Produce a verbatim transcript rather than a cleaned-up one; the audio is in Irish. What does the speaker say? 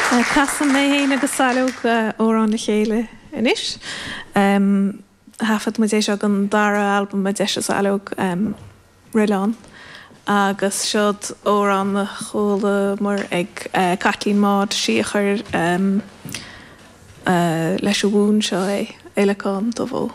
Casfaidh mé féin agus Saileog amhrán le chéile anois. Thaifead muid é seo don dara albam a d'eisigh Saileog Roileán agus seod amhrán a chualamar ag Caitlín Maude sí a chuir leis an bhfonn seo é, Eileacán Dubh Ó.